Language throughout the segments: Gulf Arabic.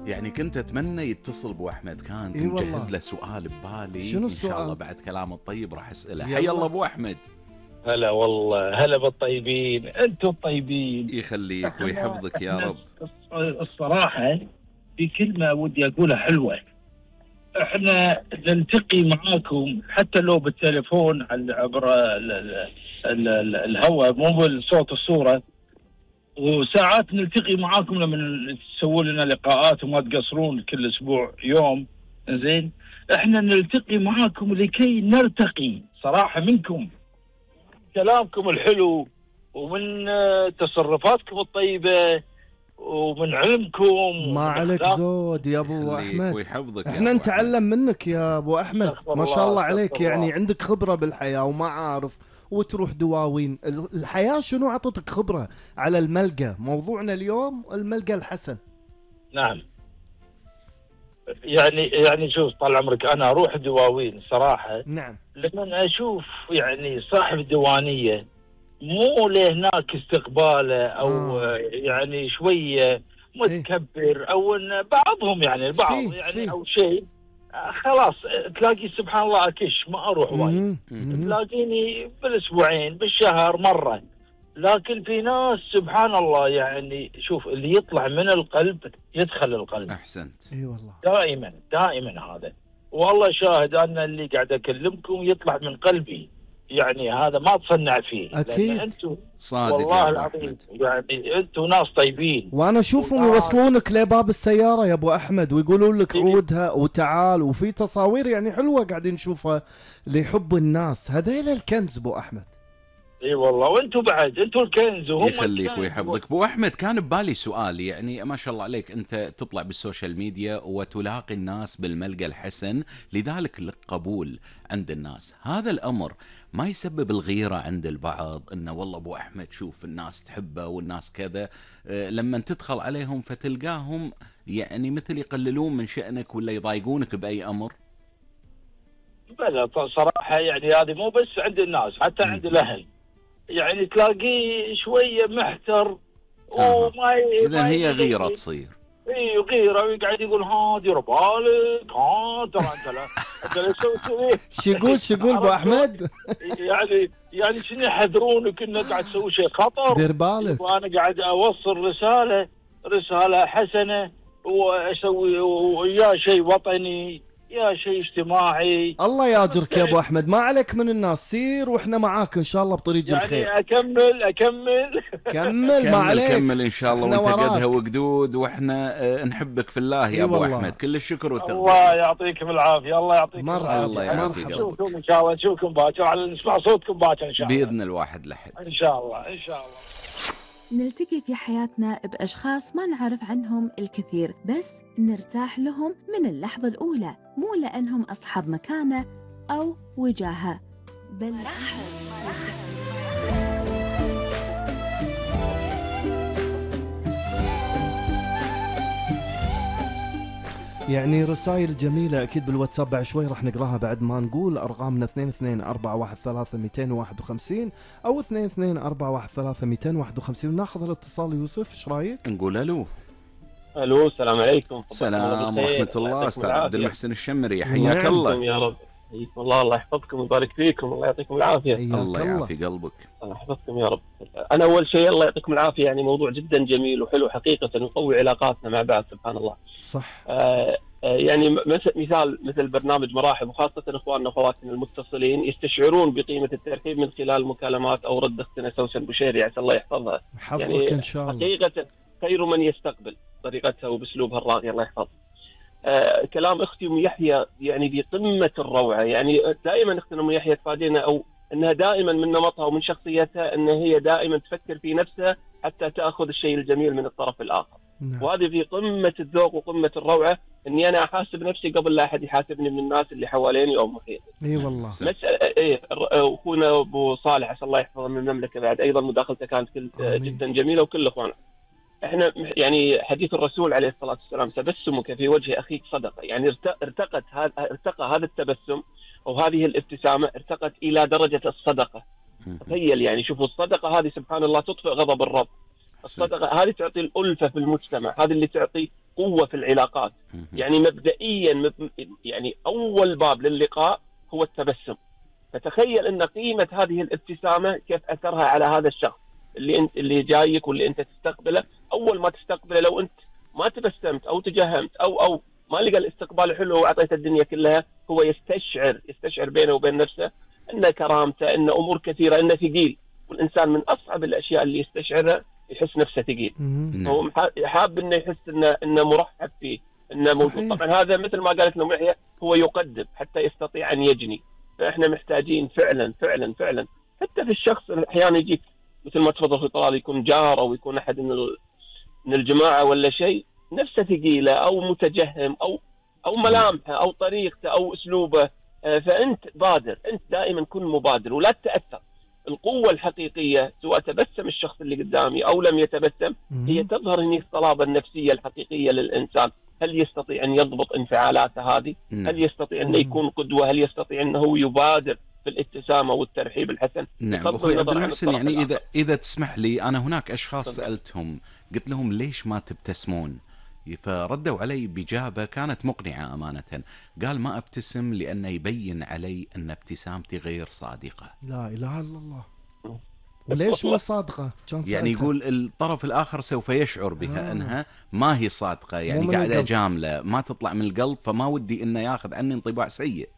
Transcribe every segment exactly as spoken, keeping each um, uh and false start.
يعني كنت اتمنى يتصل ابو احمد، كان كنت مجهز له سؤال ببالي. شنو ان شاء الله السؤال؟ بعد كلامه الطيب راح اساله. يلا. حي الله ابو احمد. هلا والله، هلا بالطيبين، انتم الطيبين. يخليك ويحفظك يا رب. الصراحة في كلمة ودي أقولها حلوة. احنا نلتقي معاكم حتى لو بالتليفون عبر ال- ال- ال- ال- الهواء، مو بالصوت الصورة، وساعات نلتقي معاكم لما تسووا لنا لقاءات وما تقصرون كل أسبوع يوم. زين، احنا نلتقي معاكم لكي نرتقي صراحة منكم، كلامكم الحلو ومن تصرفاتكم الطيبة ومن علمكم. ما عليك زود يا ابو احمد، ويحفظك. احنا نتعلم منك يا ابو احمد. ما شاء الله عليك، يعني عندك خبرة بالحياة ومعارف وتروح دواوين. الحياة شنو عطتك خبرة على الملقى؟ موضوعنا اليوم الملقى الحسن. نعم، يعني يعني شوف طال عمرك، انا اروح دواوين صراحة. نعم. لما اشوف يعني صاحب ديوانية مو لهناك استقباله او آه. يعني شوية متكبر او ان بعضهم يعني البعض فيه يعني فيه. او شيء، خلاص تلاقي سبحان الله اكش ما اروح وايد، تلاقيني بالاسبوعين بالشهر مرة. لكن في ناس سبحان الله يعني شوف اللي يطلع من القلب يدخل القلب. احسنت. اي والله. دائما دائما هذا، والله شاهد انا اللي قاعد اكلمكم يطلع من قلبي، يعني هذا ما تصنع فيه. اكيد انتم صادق والله يا العظيم، يعني انتم ناس طيبين. وانا اشوفهم يوصلونك لباب السيارة يا ابو احمد ويقولون لك عودها وتعال، وفي تصاوير يعني حلوة قاعدين نشوفها لحب الناس. هذيل الكنز ابو احمد. اي والله، وانتم بعد انتم الكنز وهم يخليك ويحفظك. ابو احمد كان ببالي سؤال، يعني ما شاء الله عليك انت تطلع بالسوشيال ميديا وتلاقي الناس بالملقى الحسن، لذلك لك قبول عند الناس. هذا الامر ما يسبب الغيرة عند البعض انه والله ابو احمد شوف الناس تحبه والناس كذا، أه لما تدخل عليهم فتلقاهم يعني مثل يقللون من شأنك ولا يضايقونك بأي امر؟ بلا صراحة يعني هذه مو بس عند الناس، حتى عند الاهل يعني تلاقيه شوية محتر وما إذن هي غيرة تصير. اي غيرة، ويقعد يقول ها دير بالك، ها ترى انت لا انت لا تسوي شو يقول شو يقول ابو احمد؟ يعني يعني شنو يحذرونك انك قاعد تسوي شيء خطر. دير بالك. وانا قاعد اوصل رسالة رسالة حسنة واسوي ويا شيء وطني يا شيء اجتماعي. الله ياجرك يا ابو احمد، ما عليك من الناس، سير واحنا معاك ان شاء الله بطريق يعني الخير. يعني اكمل اكمل كمل ما عليك، كمل ان شاء الله وانت قدها وقدود، واحنا اه نحبك في الله يا ابو والله. احمد كل الشكر والتقدير. الله يعطيكم العافيه، الله يعطيكم العافيه. الله يعافيك. نشوفكم ان شاء الله، نشوفكم باكر، على نسمع صوتكم باكر ان شاء الله باذن الواحد لحد ان شاء الله ان شاء الله. نلتقي في حياتنا بأشخاص ما نعرف عنهم الكثير، بس نرتاح لهم من اللحظة الأولى، مو لأنهم أصحاب مكانة أو وجاهة، بل يعني رسائل جميلة أكيد بالواتساب بعد شوي راح نقراها بعد ما نقول أرقامنا اثنين اثنين أربعة واحد ثلاثة مئتين وواحد وخمسين أو اثنين اثنين أربعة واحد ثلاثة مئتين وواحد وخمسين. وناخذ الاتصال. يوسف ايش رايك؟ نقول ألو. ألو السلام عليكم. السلام ورحمة الله. أستاذ عبد المحسن الشمري حياك الله. يا رب حياكم الله، الله يحفظكم ويبارك فيكم، الله يعطيكم العافية. الله يعافي قلبك. الله يحفظكم يا رب. أنا أول شيء الله يعطيكم العافية، يعني موضوع جدا جميل وحلو حقيقة، ويقوي علاقاتنا مع بعض سبحان الله. صح. آه يعني مثال مثل برنامج مراحب، وخاصة إخواننا وأخواتنا المتصلين يستشعرون بقيمة الترحيب من خلال المكالمات أو رد أختنا سوسن بشيري عسى الله يحفظها. حفظك يعني إن شاء الله. حقيقة خير من يستقبل طريقتها وبأسلوبها الراقي الله يحفظ. آه كلام أختي أم يحيى يعني بقمة الروعة، يعني دائما أختنا أم يحيى تفادينا أو أنها دائما من نمطها ومن شخصيتها أن هي دائما تفكر في نفسها حتى تأخذ الشيء الجميل من الطرف الآخر. نعم. وهذه في قمة الذوق وقمة الروعة، أني أنا أحاسب نفسي قبل لا أحد يحاسبني من الناس اللي حواليني أو محيطي. إي والله. مسألة إيه أخونا أبو صالح عسى الله يحفظه من المملكة بعد أيضا مداخلته كانت جدا جميلة وكل أخوانا. إحنا يعني حديث الرسول عليه الصلاة والسلام تبسمك في وجه أخيك صدقة، يعني ارتقت هذا ارتقى هذا التبسم أو هذه الابتسامة ارتقت إلى درجة الصدقة. تخيل يعني شوفوا الصدقة هذه سبحان الله تطفئ غضب الرب. الصدقة هذه تعطي الألفة في المجتمع، هذه اللي تعطي قوة في العلاقات. يعني مبدئيا يعني أول باب للقاء هو التبسم. فتخيل أن قيمة هذه الابتسامة كيف أثرها على هذا الشخص اللي انت اللي جايك واللي انت تستقبله. اول ما تستقبله لو انت ما تبسمت او تجهمت او او ما لقى الاستقبال حلو واعطيته الدنيا كلها، هو يستشعر يستشعر بينه وبين نفسه ان كرامته، ان امور كثيره، انه ثقيل. والانسان من اصعب الاشياء اللي يستشعرها يحس نفسه ثقيل. هو حاب انه يحس انه انه مرحب فيه، انه موجود. طبعا هذا مثل ما قالت لهم يحيى، هو يقدم حتى يستطيع ان يجني. فاحنا محتاجين فعلا فعلا فعلا حتى في الشخص احيانا يجيك مثل ما تفضل في طلال، يكون جار او يكون احد من من الجماعه ولا شيء، نفسه ثقيله او متجهم او او ملامحه او طريقته او اسلوبه. فانت بادر، انت دائما كن مبادر ولا تتاثر. القوه الحقيقيه سواء تبسم الشخص اللي قدامي او لم يتبسم، هي تظهر هني الصلابه النفسيه الحقيقيه للانسان. هل يستطيع ان يضبط انفعالاته هذه؟ هل يستطيع ان يكون قدوه؟ هل يستطيع انه يبادر في الابتسامه والترحيب الحسن؟ نعم اخوي عبد المحسن، يعني اذا اذا تسمح لي، انا هناك اشخاص سالتهم قلت لهم ليش ما تبتسمون؟ فردوا علي بإجابة كانت مقنعة أمانة. قال ما أبتسم لأنه يبين علي أن ابتسامتي غير صادقة. لا إله إلا الله. وليش مو صادقة؟ يعني يقول الطرف الآخر سوف يشعر بها آه. أنها ما هي صادقة، يعني قاعدة جاملة ما تطلع من القلب، فما ودي أنه ياخذ عني انطباع سيء.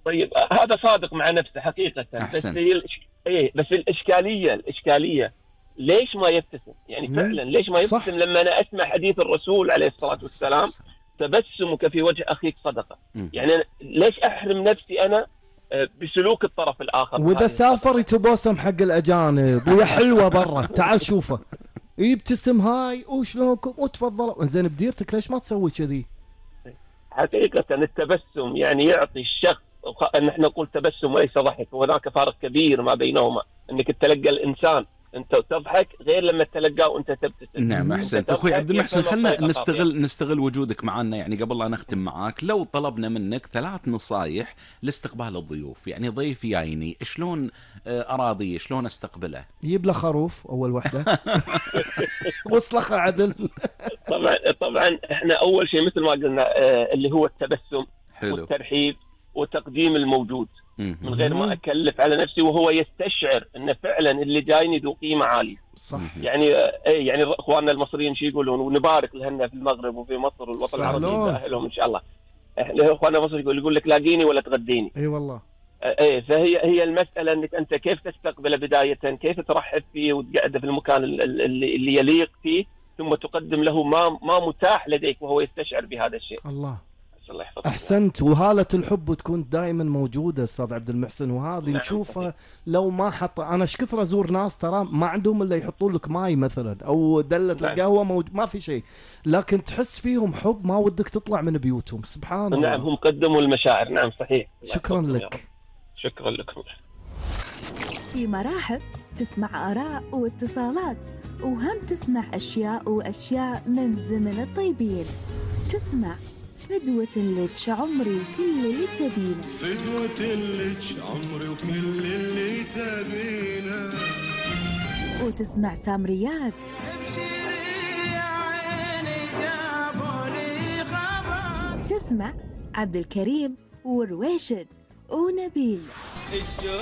طيب هذا صادق مع نفسه حقيقة. أحسنت. بس الإش... إيه بس الإشكالية الإشكالية ليش ما يبتسم؟ يعني فعلا ليش ما يبتسم؟ صح. لما أنا أسمع حديث الرسول عليه الصلاة والسلام تبسمك في وجه أخيك صدقة. يعني أنا ليش أحرم نفسي أنا بسلوك الطرف الآخر؟ وإذا سافر يتبسم حق الأجانب ويا حلوة برا تعال شوفه يبتسم هاي وشلونكم وتفضلوا. زين بديرتك ليش ما تسوي كذي؟ حقيقة التبسم يعني يعطي الشخص، نحن نقول تبسم وليس ضحك، وهناك فارق كبير ما بينهما. انك تتلقى الانسان انت تضحك غير لما تتلقاه وانت تبتسم. نعم احسنت اخوي عبد المحسن. خلنا نستغل نستغل وجودك معنا. يعني قبل لا نختم معاك، لو طلبنا منك ثلاث نصايح لاستقبال الضيوف، يعني ضيف جايني شلون اراضيه، شلون استقبله؟ يجيب له خروف اول وحده وصلخه عدل. طبعا طبعا احنا اول شيء مثل ما قلنا اللي هو التبسم حلو. والترحيب وتقديم الموجود من غير ما أكلف على نفسي، وهو يستشعر أن فعلا اللي جايني ذو قيمة عالية. صح. يعني إيه يعني إخواننا المصريين شو يقولون، ونبارك لهن في المغرب وفي مصر والوطن العربي يسهلهم إن شاء الله. إحنا إخواننا المصريين يقول يقول لك لاقيني ولا تغديني. أي والله. إيه فهي هي المسألة أنك أنت كيف تستقبله بداية، كيف ترحب فيه وتقعده في المكان اللي, اللي يليق فيه، ثم تقدم له ما ما متاح لديك وهو يستشعر بهذا الشيء. الله. أحسنت. وهالة الحب تكون دائما موجودة أستاذ عبد المحسن، وهذه نعم. نشوفها لو ما حط. أنا ايش كثر أزور ناس ترى ما عندهم إلا يحطون لك ماي مثلا أو دلة نعم. القهوة موجود، ما في شيء، لكن تحس فيهم حب ما ودك تطلع من بيوتهم. سبحان الله. نعم هم قدموا المشاعر. نعم صحيح. شكرا لك. شكرا لكم. في مراحل تسمع آراء واتصالات، وهم تسمع أشياء وأشياء من زمن الطيبين. تسمع فدوة الليتش عمري وكل اللي تبينه. فدوة الليتش عمري وكل اللي تبينه. وتسمع سامريات. ابشري يا عيني جابولي خبر. تسمع عبد الكريم ورويشد ونبيل.